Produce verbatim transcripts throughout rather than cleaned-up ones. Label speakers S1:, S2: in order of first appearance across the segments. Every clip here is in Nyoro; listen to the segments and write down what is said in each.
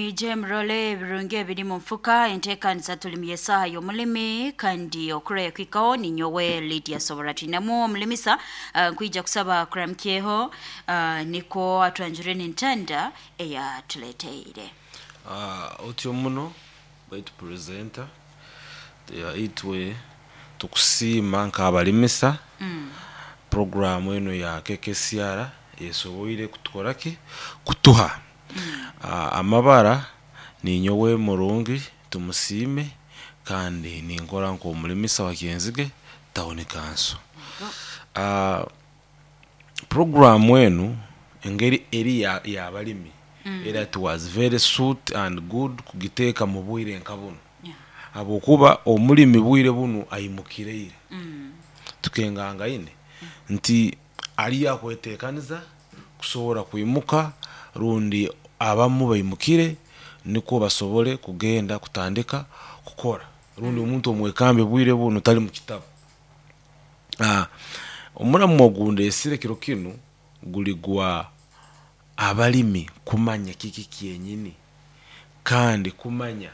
S1: Mwije murole ebirungi ebiri mu nfuka. Enteekaniza tulimye esaaha y'omulimi kandi okuraya kwikaho ninyowe Lydia Sobora. Twinemu omulimisa uh, nkwija kusaba kuramukyeho uh, niko atwanjure n'entanda eyatuleteire.
S2: Uh, otyo muno baitu presenter ya itwe tukusiima nk'abalimisa mm. Programu eno ya K K C R esoboire kutukora ki kutuha mm. uh, amabara. Ninyowe Murungi Tumusiime kandi ninkora nk'omulimisa wa Kyenzige Town Council. uh, programu enu engeri eri ya- y'abalimi mm. era it was very suit and good kugiteeka mu bwire nka buno
S1: Yeah.
S2: habwokuba omulimi bwire bunu aimukireire mm. tukengangaine nti ali akwetekaniza kusobora kwimuka rundi abamu baimukire nikwo basobole kugenda kutandika kukora rundi omuntu omwekambi bwire bunu tali mu kitabu. Ah, omuramu ogundesire kiro kinu guli gwa abalimi kumanya kiki kyenyini kandi kumanya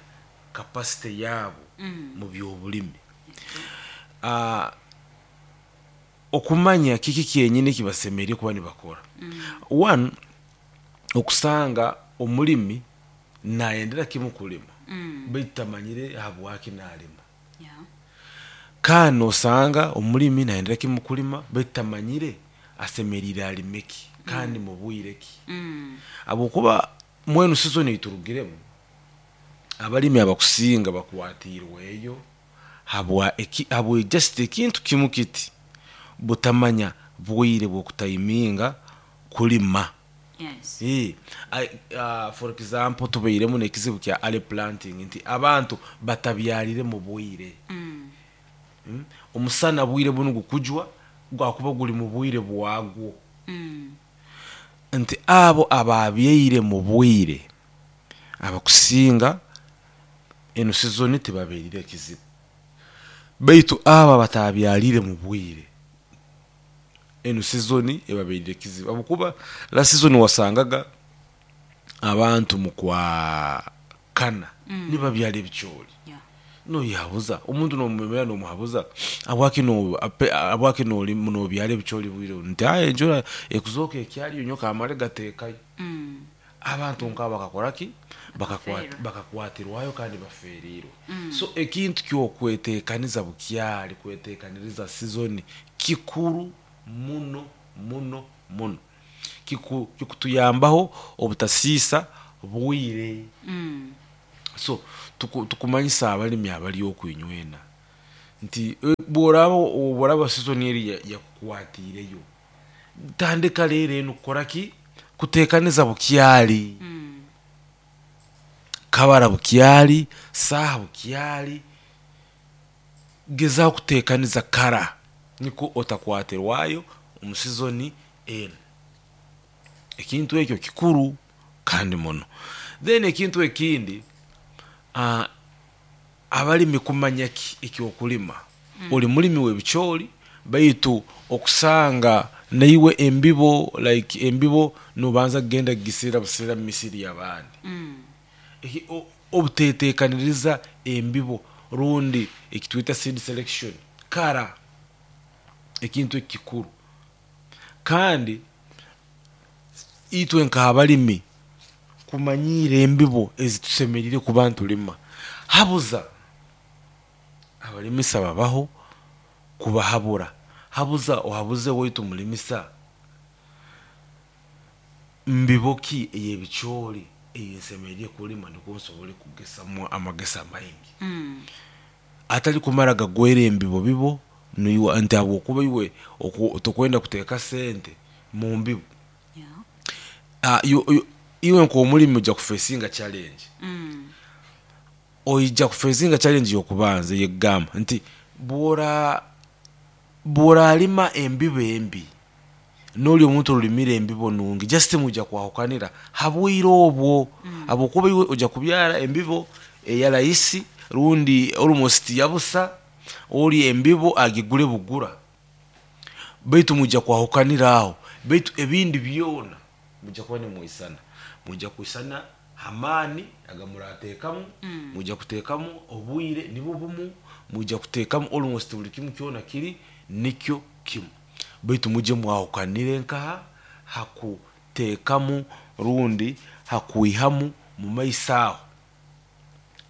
S2: capacity yaabo mm. mu byobulimi. Ah, okumanya kiki kyenyini kibasemeire kuba nibakora mm. One, okusanga omulimi nayendera kimu kulima mm. baitu tamanyire habwaki nalima.
S1: Yeah.
S2: Kandi osanga omulimi nayendera kimu kulima baitu tamanyire asemerire alime ki kandi mu bwire ki
S1: Mm.
S2: habwokuba mwenu season eiturugiremu abalimi abakusinga bakwatirweyo habwa eki, habwa just ekintu kimu kiti, butamanya bwire bwokutayiminga kulima.
S1: Yes.
S2: Eh, I- uh, for example, tubairemu n'ekizibu kya early planting nti abantu batabyalire mu bwire.
S1: Mm.
S2: Mm? Omusana bwire bunu gukujwa gwakuba guli mu bwire bwagwo
S1: Mm.
S2: nti abo ababyaire mu bwire abakusinga eno sizoni tibabeerire ekizibu, baitu abo abatabyalire mu bwire eno sizoni ebabeerire ekizibu habwokuba la sizoni wasangaga abantu mu kwa kana mm. nibabyala ebicooli.
S1: Yeah.
S2: Noyabuza omuntu nomwemera nomuhabuza abwaki no ape- abwaki noli nobyala ebicooli bwire buno? Nti aye enjura ekuzooka ekyaliyo nyo kamale gateekayo.
S1: Mm.
S2: Abantu nkabo bakakora ki? Bakakwat-
S1: Bakaferwa.
S2: Bakakwatirwayo kandi baferirwe mm. So ekintu kyokwetekaniza bukyali kwetekaniriza sizoni kikuru muno muno muno. Kiku- kikutuyambaho obutasiisa bwire.
S1: Mm.
S2: So tuku- tukumanyisa abalimi abali okwinywena nti eh, bworaba bworaba sizoni eri ya- yakukwatiireyo, tandika leero eno kukora ki? Kutekaniza bukyali.
S1: Mm.
S2: Kabara bukyali, saaha bukyali, gezaho kutekaniza kara niko otakwatirwayo omu sizoni eno. Ekintu ekyo kikuru kandi muno. Then ekintu ekindi, uh, abalimi kumanya ki ekyokulima mm. Oli mulimi w'ebicooli baitu okusanga naiwe embibo, like embibo nobanza kugenda kugisira busira mu misiri y'abandi.
S1: Mm.
S2: Eki- o- obutetekaniriza embibo rundi ekitwita seed selection kara, ekintu ekikuru. Kandi itwe nk'abalimi kumanyiira embibo ezitusemerire kuba ntulima, habuza abalimisa babaho kubahabura, habuza ohabuze waitu mulimisa mbibo ki ey'ebicooli eyensemerire kulima nikwo nsobole kugesamu amagesa maingi
S1: Mm.
S2: atali kumara gagwera embibo bibo niiwe nti habwokuba iwe oku- tokwenda kuteeka sente mu mbibo.
S1: Yeah.
S2: Ah, yo- yo- iwe nk'omulimi ojja kufesinga challenge.
S1: Mm.
S2: Oija kufesinga challenge yokubanza yegamba nti bwora bworalima embibo embi noli omuntu olimire embibo nungi, just mujja kwahukanira habwire obwo habwokuba iwe ojja kubyara embibo eya rahisi rundi almost yabusa, oli embibo agigule bugura, baitu mujja kwahukanira aho. Baitu ebindi byona mujja kuba nimwisana, mujja kwisana. Hamaani agamurateekamu, mwija kuteekamu obwire nibwo bumu, mwija kuteekamu almost buli kimu kyona kiri nikyo kimu, baitu mujye mwahukanire nkaha hakuteekamu rundi hakwihamu mu maiso aho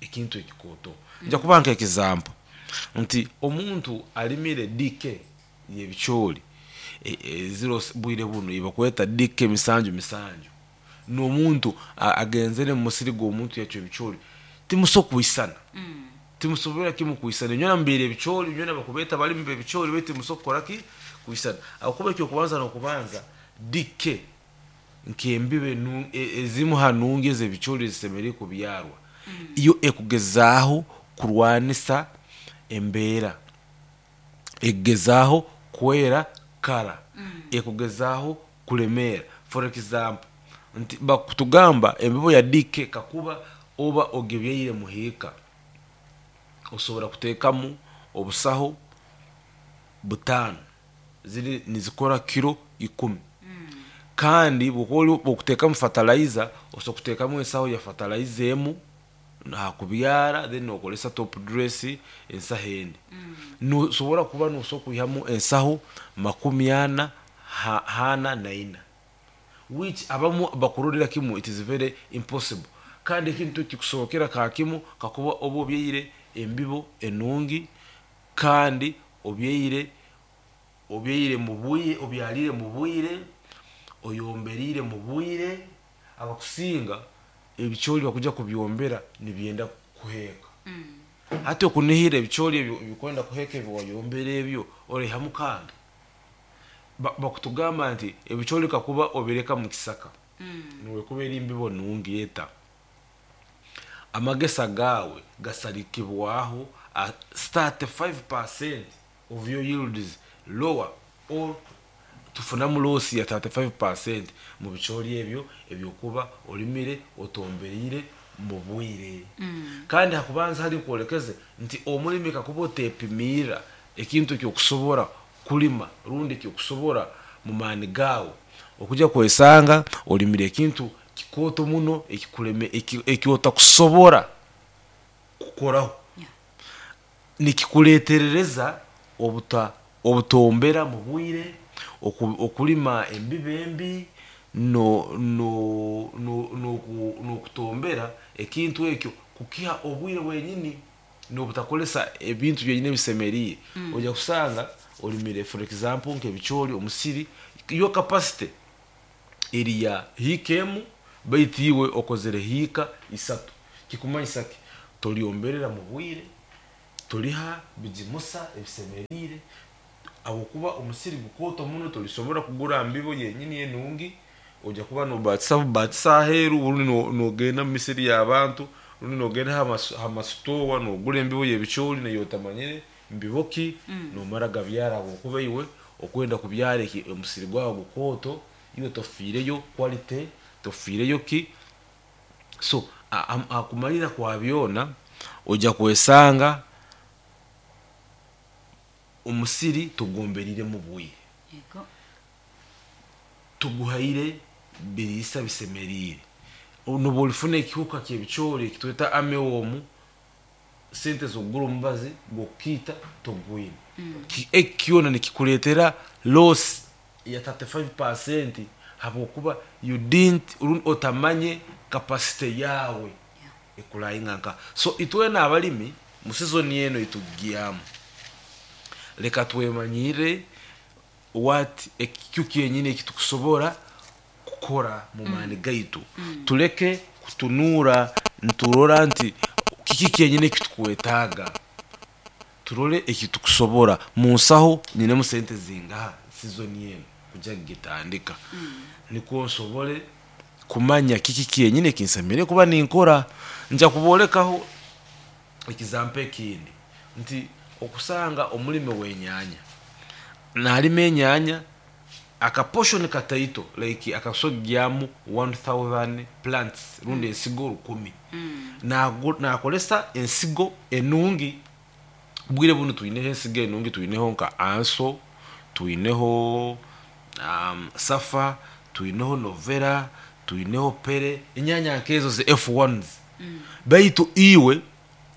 S2: ekintu ekikooto. Nja kuba nka example nti omuntu alimire D K y'ebicooli e- e, ziro bwire buno ibakweta D K misanju misanju, n'omuntu a- agenzere mu musiri gw'omuntu yakyo ebicooli, timuso kwisana, timusobora kimu kwisana. Inywena mubiire ebicooli, inywena bakubeeta balimi b'ebicooli, baitu timuso kukora ki kwisana, ahakuba ekyokubanza n'okubanza D K nk'embibo enu- e- ezimu ha nungi ez'ebicooli ezisemeriire kubyarwa, iyo ekugezaaho kurwanisa embeera, ekugezaaho kwera kara, ekugezaaho kulemeera. For example, nti bakutugamba embibo ya D K kakuba oba ogebyaire muhiika, osobola kuteekamu obusaho butaano ziri nizikora kiro ikumi, kandi bwokuba bwokuteekamu fertilizer, osobola kuteekamu ensaho ya fertilizer emu hakubyara, then nokolesa top dress ensaho endi, nosobora kuba nosobola kwihamu ensaho makumi ana ha, hana na ina, which abamu bakurorera kimu it is very impossible. Kandi ekintu kikusobokera ka kimu kakuba oba obyaire embibo enungi, kandi obyaire obyaire mu bwire, obyalire mu bwire, oyomberiire mu bwire. Abakusinga ebicooli bakuja kubyombera nibyenda kuheeka. Hati okunihira ebicooli ebyo bikwenda kuheeka ebi wayombera ebyo oraihamu kange. Ba- bakutugamba nti ebicooli kakuba obireka mu kisaka, niwekuba eri mbibo nungi eta, amagesa gaawe gasarikibwaho at thirty-five percent of your yields lower, or tufunamu loss ya thirty-five percent mu bicooli ebyo ebyokuba olimire otomberiire mu bwire. Kandi hakubanza hari nkwolekeze nti omulimi kakuba otepimiira ekintu ekyokusobora kulima rundi ekyokusobora mu maani gaawe, okujya kwesanga olimire ekintu kikooto muno ekikuleme eki- ekyotakusobora kukoraho.
S1: Yeah.
S2: Nikikuleterereza obuta obutombera mu bwire, oku- okulima embibo embi, no no no noku- nokutombera ekintu ekyo kukiha obwire bwenyini nobutakolesa ebintu byenyini ebisemeriire. Ojja kusanga olimire, for example, nk'ebicooli, omusiri yo capacity eri ya hiika emu, baitu iwe okozere hiika isatu. Kikumanyisa ki? Tolyomberera mu bwire, toliha bigimusa ebisemeriire, habwokuba omusiri gukooto muno, tolisobora kugura mbibo yenyini enungi. Ojja kuba nobatisa bubatisa aheeru, rundi no- nogenda mu misiri y'abantu, rundi nogenda ha masitowa nogura embibo y'ebicooli nayo otamanyire mbibo ki, nomara gabyara, habwokuba iwe okwenda kubyara eki omusiri gwawe gukooto, iwe tofiireyo quality, tofiireyo ki. So hakumalira kwa byona ojja kwesanga omusiri tugomberire mu bwire,
S1: Yego.
S2: Tuguhaire biriisa bisemeriire, noba olifuna ekihuka kyebicooli ekitweta armyworm, sente zokugura omubazi gwokukiita togwine. Ki- eki kyona nikikuleetera loss ya thirty-five percent, habwokuba you didn't rundi otamanye capacity yawe ekulayinga nka. So itwena abalimi mu season eno itugyamu, leka twemanyire what ekyo kyenyini ekitukusobora kukora mu maani gaitu, tuleke kutunuura nturora nti kiki kyenyini ekitukwetaaga, turole ekitukusobora mu nsaho, nyinemu sente zingaha season eno kujya kugitandika, nikwo nsobole kumanya kiki kyenyini ekinsemeriire kuba ninkora. Nja kuboolekaho ekizampo ekindi nti okusanga omulimi w'enyaanya nalima enyaanya akaportion kataito, like akasogyamu one thousand plants rundi ensigo rukumi. Nagu- nakolesa ensigo enungi. Bwire bunu twineho ensigo enungi, twineho nka Anso, twineho um, Safa, twineho Novera. Tuineho pere, enyanya nkezo ze F ones. Baitu iwe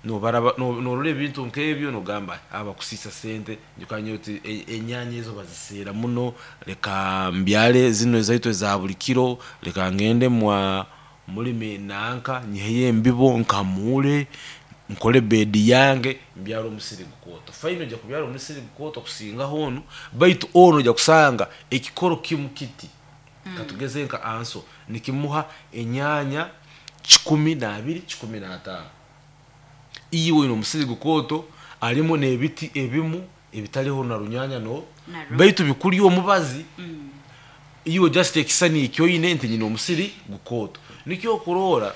S2: nobaraba norora ebintu nkebyo nogamba abakusisa sente njukanye oti enyanya ezo bazisera muno, leka mbyale zino ezaitu eza buli kiro, leka ngende mwa mulimi nanka nyiheye embibo nkamule nkole bedi yange mbyalo omusiri gukoto. Faino ojja kubyala omusiri gukoto kusinga hono, baitu ono ojja kusanga ekikoro kimu kiti mm. Katugeze nka anso nikimuha enyanya kikumi na abiri kikumi na ataano. Iwe ino omusiri gukoto alimu n'ebiti ebimu ebitaliho na runyanya no baitu bikuli omubazi mm. Iwe just ekisani ekyoine nti nyina omusiri gukoto nikyo okurora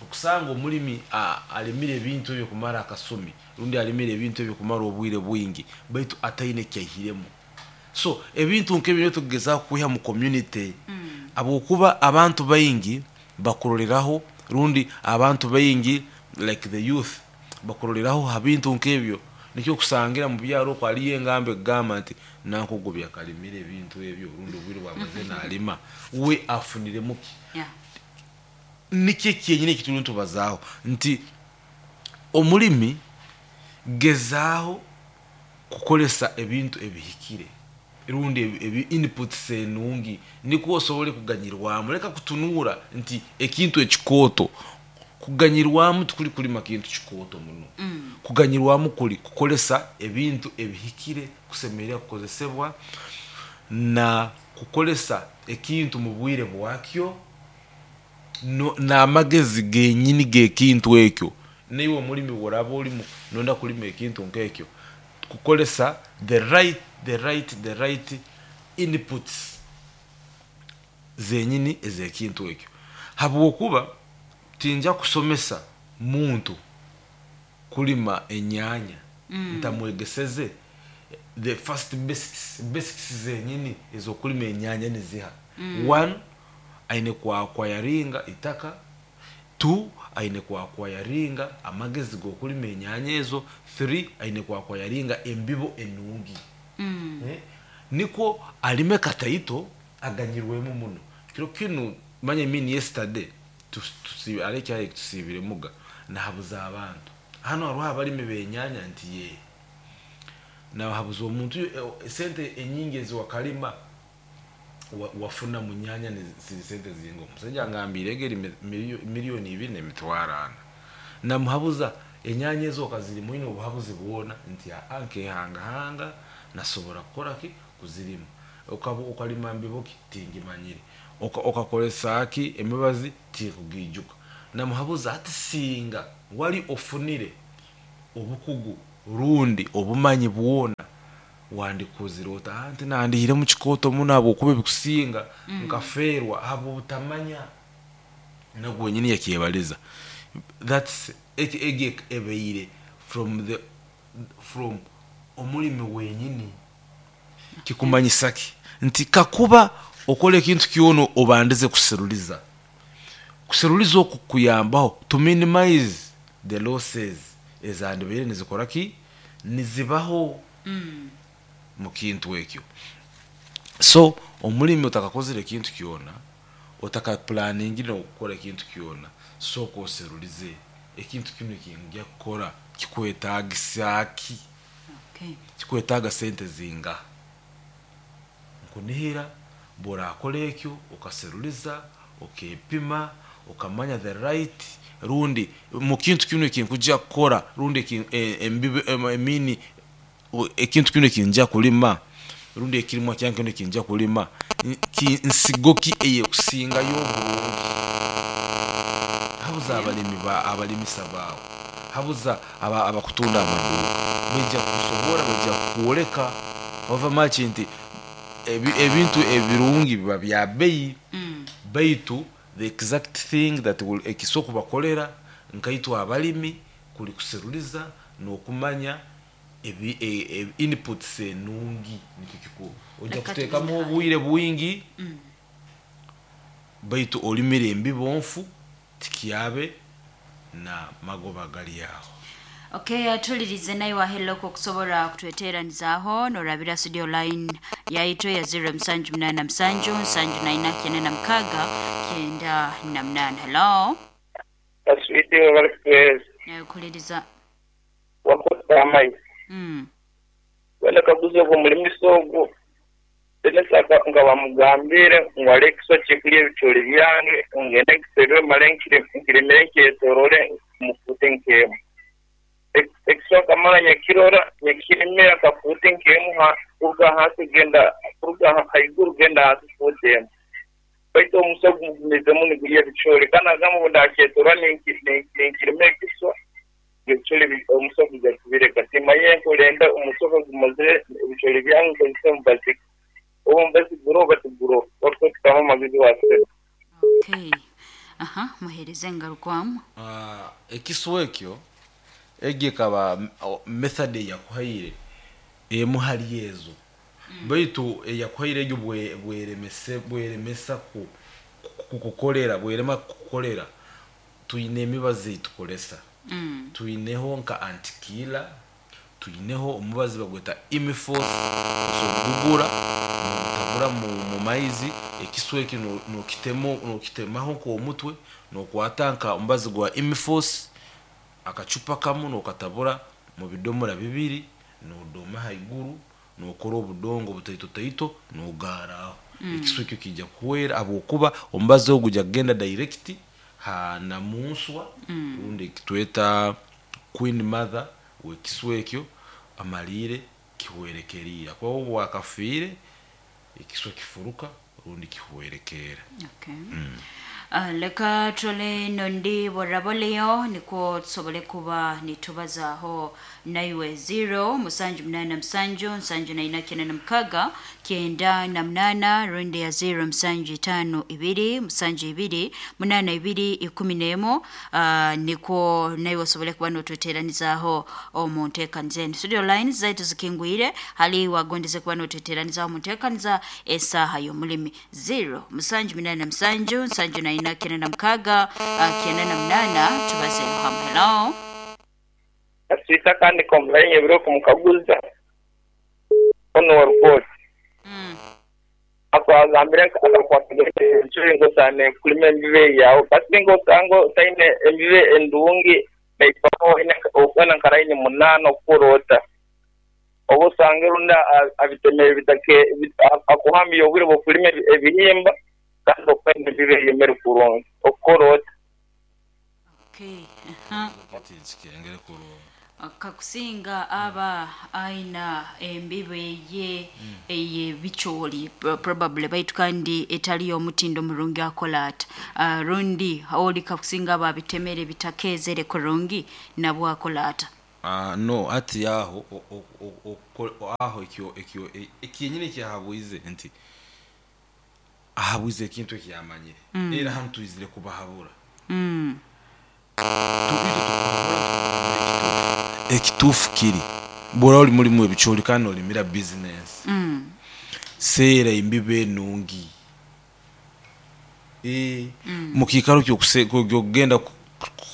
S2: okusanga omulimi alimire ebintu ebyo kumara akasumi rundi alimire ebintu ebyo kumara obwire bwingi baitu ataine kyaihiremu. So ebintu nk'ebyo tugeza kwiha mu community mm. Abokuba abantu baingi bakuroreraho rundi abantu baingi like the youth bakuroreraho habintu nk'ebyo nikyo kusangira mu byaro ko aliye engambe gamba nti nankugobya kalimire ebintu ebyo rundi obwire bwamaze nalima we afunire muki
S1: yeah.
S2: Nikyo kyenyine kituli ntubazaaho nti omulimi gezaaho kukolesa ebintu ebihikire rundi ebi inputs enungi nikwo osobole kuganyirwamu. Leka kutunura nti ekintu ekikoto kuganyirwamu tukuli kulima kintu kikoto muno mm. Kuganyirwamu kuli kukolesa ebintu ebihikire kusemerera kukozesebwa na kukolesa ekintu mu bwire bwakyo no n'amagezi genyini g'ekintu ekyo. Niwe omulimi woraba olimu nonda kulima ekintu nk'ekyo kukolesa the right the right the right inputs zenyini ez'ekintu ekyo. Habwokuba tinja kusomesa muntu kulima enyanya mm. Ntamwegeseze the first basics basics zenyini ezokulima enyanya niziha mm. One, aine kwakwayaringa itaka. Two, aine kwakwayaringa amagezi g'okulima enyanya ezo. Three, aine kwakwayaringa embibo enungi mm. Eh? Niko alime kataito aganyirwemu muno. Kiro kinu manya mini yesterday tusi aleke tusibire muga nahabuza abantu hano hariho abalimi benyanya nti ye nahabuza omuntu sente enyingi eziwakalima wafuna munyanya ni sente zingo. Omusajja ngambire egeri miliyoni ibiri n'emitwaro ana namuhabuza enyanya ezo okazirimu ine obuhabuzi bwona nti ankehangahanga nasobora kukora ki kuzirima okalima mbibo ki tingimanyire okakolesa ki emibazi tikugijuka. Namuhabuza ati singa wali ofunire obukugu rundi obumanyi bwona wandikuzire ota anti nandihire mu kikoto muno abwokuba ebikusinga mm. Nkaferwa abo butamanya nagwe nyini yakebaliza. That's ege ebeire from the from omulimi wenyini kikumanyisa ki nti kakuba okole ekintu kyono obandize kuseruliza kuseruliza okukuyambaho to minimize the losses ezandibere nizikora ki nizibaho mm. Mu kintu ekyo. So omulimi otakakozere ekintu kyona otakaplaningire okukora ekintu kyona sooka oserulize ekintu kino ekinjya kukora kikwetagisa ki
S1: okay.
S2: Kikwetaga sente zinga nkunihira borakora ekyo okaseruliza okepima okamanya the right rundi mu kintu kino ekinkujja kukora rundi embibo emini ekintu kino ekinjja kulima rundi ekirimwa kyange kino ekinjja kulima nsigo ki eyekusingayo obulungi. Habuza abalimi ba abalimisa baawe habuza abakutunda amaduuka baija kukusobora baija kukwoleka ova maki nti ebintu ebirungi biba bya bbeeyi
S1: mm.
S2: Baitu the exact thing that will ekisoku bakolera nkaitwa abalimi kuli kuseruliza n'okumanya ebi e, inputs enungi nikyo kikuru. Ojja kuteekamu obwire bwingi
S1: mm.
S2: Baitu olimire embibo nfu tikyabe na magoba gali aho.
S1: Okay, atulirize naye waheloko okusobola kutweteeranizaaho norabira studio line yaitu ya zero musanju munaana musanju nsanju naina kyenda na mukaaga kyenda na munaana. Hello.
S3: Aswiti wabali kutuweereza.
S1: Nakuliriza.
S3: Wakosa amaizi.
S1: Mm.
S3: Wenda kaguza ogwo mulimisa ogwo tenesaka nga bamugambire ngu alekiso kikulya ebicoori byange ngende nkiserere male nkiremere nkyetorore mufute nkemu. Ekiswa kamara nyakirora nyakiremera kafute nkemu kuruga hasi genda kuruga haiguru genda hasi futemu. Baitu omusa gumizemu nigulya ebicoori kandi agamba ngu ndakyetorora ninkiremera ekiswa ebicoori omusa guja kubireka. Timanye nkurenda omusa gumazire ebicoori byange nkozesa omubazi. Obu mubazi guroba tiguroba wakutukamo amagezi wasera.
S1: Okay. Aha, muhereze engarukwamu.
S2: Ah, ekiswa ekyo egi ekaba method eyakuhaire emu hali ezo baitu eyakuhaire egyo bweremese bweremesa ku kukukolera bwerema kukukolera tuyine emibazi eitukolesa.
S1: Mm.
S2: Tuyineho nka antikila, tuyineho omubazi bagweta imifos, osogugura nogutabura mu, mu maizi ekiswa ekyo nokitemo nokitemaho nk'omutwe nokwata nka omubazi gwa imifos akacupa kamu nokatabura mu bidomora bibiri nodoma haiguru nokora obudongo butaito taito nogaraho. Mm. Ekiswa ekyo kijja kuhwera habwokuba omubazi ogwo gujja kugenda direct ha namunswa. Mm. Rundi kitweta queen mother wekiswa ekyo amalire kihwerekerira kuba obu wakafiire ekiswa kifuruka rundi kihwerekera.
S1: Okay. Mm. Uh, leka tule nondi boraboleyo nikwo tusobole kuba nitubazaaho naiwe zero musanju munana musanju nsanju naina kyenda na mukaga kyenda na munana rundi ya zero musanju itano ibiri musanju ibiri munana ibiri ikumi n'emu. Uh, nikwo naiwe osobole kuba notweteranizaaho omu nteekaniza enu. Studio lines zaitu zikingwire hali wagondeze kuba notweteranizaaho omu nteekaniza esaaha y'omulimi zero musanju munana musanju nsanju naina kyenda na mukaga uh, kyenda na munana tubazeeho hamu. Hello.
S3: Aswita kandi complain ebiro kumukaguza ono wa report.
S1: Mm.
S3: Akwagambire akakwatagire enchuri ngosane kulima embibe yawo kasi ngosango taine embibe endungi naipako ine okwana nkaraini munana okurota obu usange runda abitemere bitake akuhambiye obwire bw'okulima ebihimba kandi okwenda embibe yemere kurungi okurota.
S1: Okay. Uh-huh.
S2: Kengere kurungi.
S1: Kakusinga aba aina embibe ye eye bicoori probably baitu kandi etali omutindo murungi akola ata. Uh, rundi oli kakusinga aba bitemere bitakezere kurungi nabwo akola ata.
S2: Uh, no ati aho aho ekyo ekyo ekinyine kyahabwize nti ahabwize ekintu ekyamanyire. Mm. Era hanu tuizire kubahabura.
S1: Mm.
S2: Ekituufu kiri bw'oba oli mulimu ebicoori kandi olimira business.
S1: Mm.
S2: Seera embibe enungi. E, mm. Mukiikaro ky'okugenda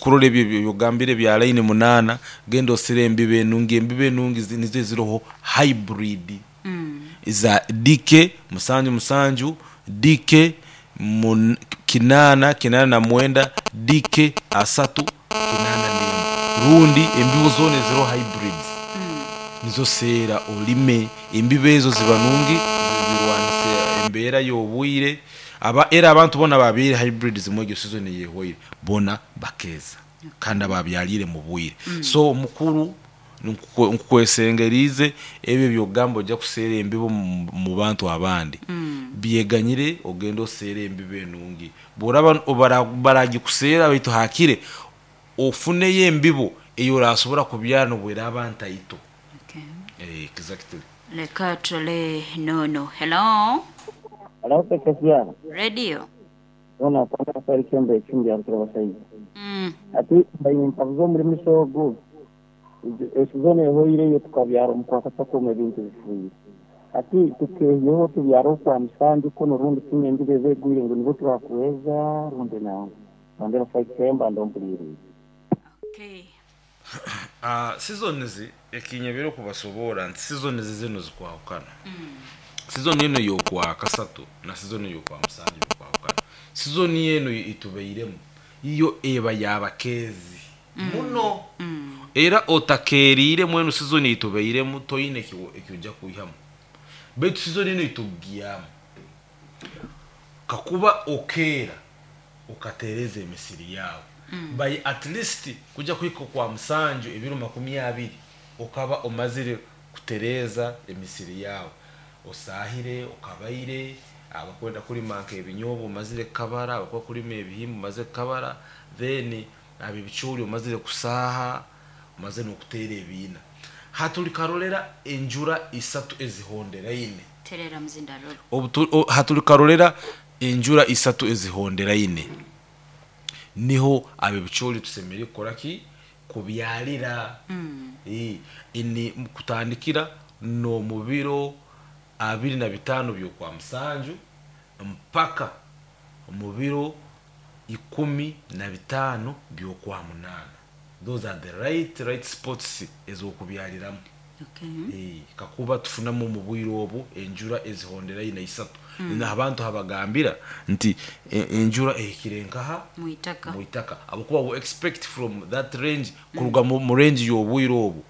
S2: kurola ebyo byogambire bya line munana genda osere embibe enungi. Embibe enungi nizo eziroho hybrid.
S1: Mm.
S2: Za D K musanju musanju D K mun, kinana kinana na mwenda D K asatu kinana nemu rundi embibo zone zero hybrids.
S1: Mm.
S2: Nizo sera olime embibo ezo ziba nungi zirwanise embeera y'obwire aba era abantu bona babire hybrids mwegyo season yehwaire bona bakeza kandi ababyalire mu bwire.
S1: Mm.
S2: So omukuru nkukwesengerize ebyo byogambo ojja kuseera embibo mu bantu abandi.
S1: Mm.
S2: Byeganyire ogenda oseera embibo enungi bw'oraba baragikuseera baitu hakire ofuneyo embibo eyo orasobora kubyara nobwera abantu aito.
S1: Okay.
S2: Eh, exactly.
S1: Leka tule nono. Hello.
S4: Hello, Pekesiana.
S1: Radio.
S4: Ona kwanza sari kembe chumbi ya mtoro.
S1: Mm.
S4: Ati mbayi muri misogo esizone hoire yo tukabyara omukwakasatu omu ebintu bifuire. Ati tukeyeho tubyara okwa musanju kono rundi tumwe embibe zegwire ngu nibo turakuweza rundi nangu. Bandera five kemba ndompulire.
S1: Okay.
S2: Uh, seasons ekinyebere okubasoboora nti seasons zino zikwahukana. Season eno yokwa kasatu na season yokwa musanju bikwahukana. Season eno itubeiremu iyo eba yabakeezi muno, era otakeeriire mwenu season itubeiremu toine eki- ekyojja kwihamu, baitu season eno itugyamu kakuba okeera ukatereza emisiri yawe by at least kuja kuhika kwa musanju ebiro makumi abiri, okaba omazire kutereza emisiri yawe, osahire, okabaire, abakwenda kulima nk'ebinyobwa omazire kukabara, abakuba kulima ebihimba omazire kukabara, then abo ebicoori omazire kusaha, omazire n'okuteera ebiina. Hatulikarolera enjura isatu ezihonderaine.
S1: Terera muzindaro.
S2: Obutu- o- hatulikarolera enjura isatu ezihonderaine, niho abebicoori tusemeriire kukora ki? Kubyalira. Eh, ini kutandikira n'omu biro abiri na bitaano byokwa musanju mpaka mu biro ikumi na bitaano byokwa munaana. Those are the right right spots ez'okubyaliramu.
S1: Okay.
S2: Eh, kakuba tufunamu mu bwire obu enjura ezihonderaine isatu mm. Abantu habagambira nti e- enjura ehikire nkaha?
S1: Mwitaka.
S2: Mwitaka, abakuba we expect from that range, kuruga mu mu range y'obwire obu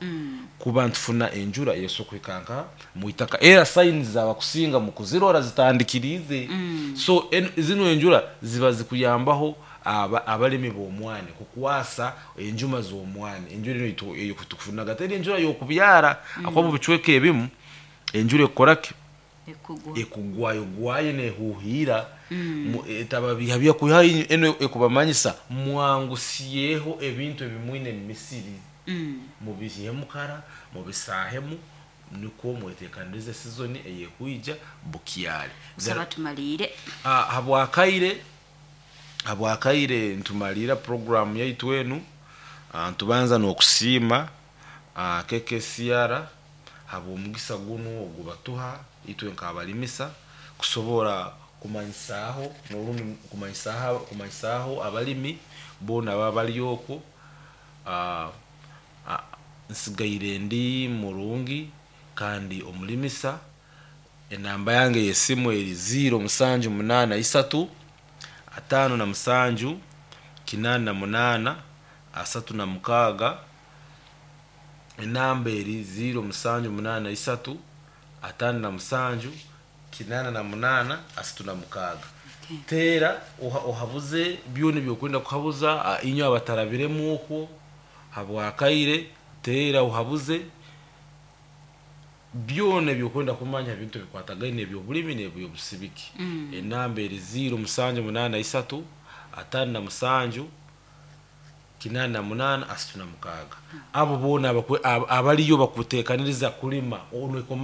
S2: kuba ntufuna enjura yeso kuhika nka mwitaka, era signs zabakusinga mu kuzirora zitandikirize. So en, zino enjura ziba zikuyambaho aba, abalimi b'omwani kukwasa enjuma z'omwani. Enjura eno itu- eyo tukufunaga teri enjura y'okubyara, akuba mu bicweka ebimu enjura ekora ki?
S1: Ekugwa.
S2: Ekugwayo gwayo nehuhira, etaba biha byakuha eno ekubamanyisa mwangusiyeho ebintu ebimwine emisiri,
S1: Mm.
S2: mubihemu kara, mubisahemu, nikwo mwetekanirize season eyekwija bukyali.
S1: Usaba tumalire.
S2: Ah, habwakaire habwakaire ntumalira program yaitu enu. Ah, ntubanza n'okusiima ah, K K C R habw'omugisa guno ogubatuha itwe nk'abalimisa kusobora kumanyisaaho n'orundi kumanyisaaho kumanyisaaho abalimi boona baba bali okwo. Ah, ah, nsigaire ndi murungi kandi omulimisa. Enamba yange yesimu eri ziro musanju munaana isatu atano na musanju kinana na munana asatu na mukaaga. Enamba eri ziro musanju munaana isatu atano na musanju kinana na munana asatu na mukaaga.
S1: Okay.
S2: Teera oha- ohabuze byona ebyokwenda kuhabuza. ah, inywe abatarabiremu okwo habwakaire, teera ohabuze byona ebyokwenda kumanya ebintu ebikwatagaine ebyobulimi n'ebyobusibiki.
S1: Mm.
S2: Enamba eri ziro musanju munaana isatu atano na musanju kinana na munana asatu na mukaaga. Abo boona abakwe- ab- abaliyo bakutekaniriza kulima ono ekoma.